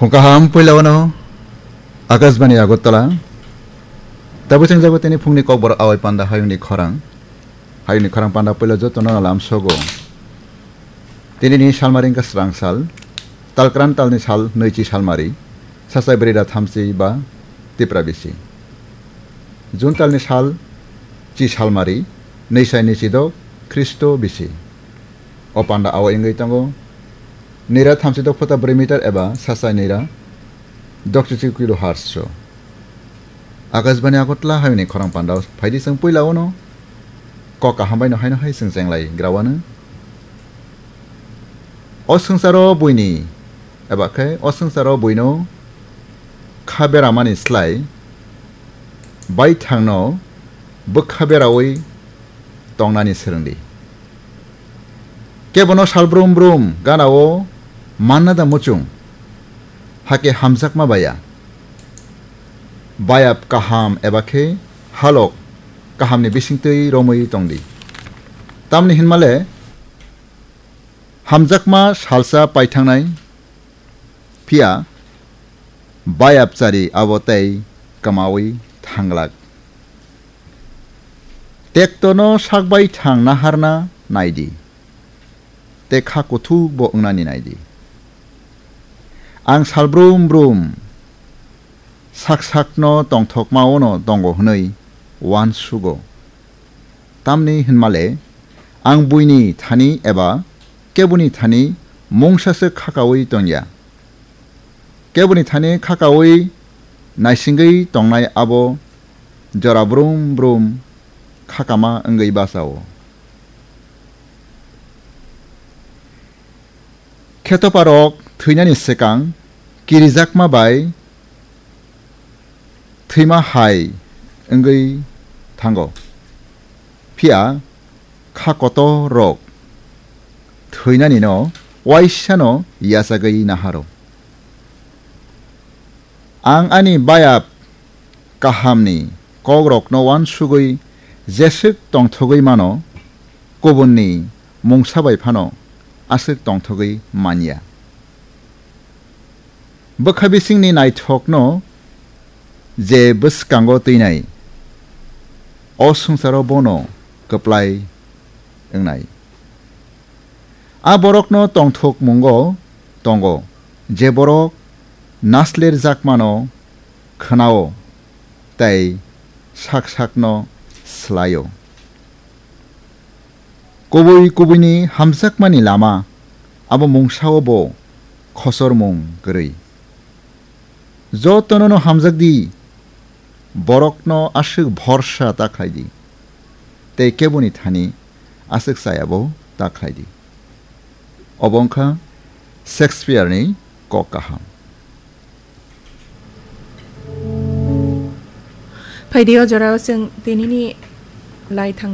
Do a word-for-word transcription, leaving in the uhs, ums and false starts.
Phung kaham puila wano Akashbani Agartala. Tabuk chengjago tini phungni kokborok awai panda hayungni khorang. Hayungni khorang panda puila jotono no lam sogo. Tini ni salmari wngkha srang sal. Talkran talni sal nwichi salmari. Sasai brida thamchi ba Tipra bisi. Jun talni sal chi salmari. Nwisai nwichi dok Khristo bisi. O panda awo wngwi tongo. Nira thamchi dok phota brwi meter eba sasai nira dokchichi kilohertz so. Akashbani Agartala hayungni khorang panda phaidi chwng puila wano kok kaham baino haino hai chwng chenglai grawano. O swngcharo buini eba khe o swngcharo buino kha beramani slai baithangno bwkha berawi tongnani swrwngdi. Kebono sal brum brum ganao manna da muchung, hake hamjakma baya. Bayap kaham eba khe halok kahamni bisingtwi romwi tongdi. Tamni hinmale hamjakma salsa paithangnai, phiya bayapchari abo tei kwmawi thanglak. Tektono sakbai thang naharna naidi, tei kha kuthukbo wngnani naidi. Ang sal brum brum sak sakno tongthokmaono tongo hwnwi uansugo. Tamni hinmale ang buini thani eba keboni thani mungsaswk khakaui tongya. Keboni thani khakaui naisingwi tongnai abo jora brum brum khakama wngwi bachao. Khetoparok thwinani swkang kirijakma bai thwima hai wngwi thango. Phiya kha kotorrok thwinanino uaisano yachagwi naharo. Ang ani bayap kahamni kokrokno uansugwi jeswk tongthogwi mano, kubunni mungsa bai phano aswk tongthogwi manya. Bwkha bisingni naithokno je bwskango twinai, o swngcharo bono kwplai wngnai. A borokno tongthokmungo tongo, je borok naslerjakmano khwnao tei sak sakno swlaio. Kubui kubuini hamjakmani lama abo mungsao bo khochormung kwrwi. Jotonono hamjakdi, borokno aswk bhorsa ta khlaidi, tei keboni thani aswk chayabo ta khlaidi. Obo wngkha Shakespeare-ni kok kaham. Phaidi o jorao chwng tinini laithang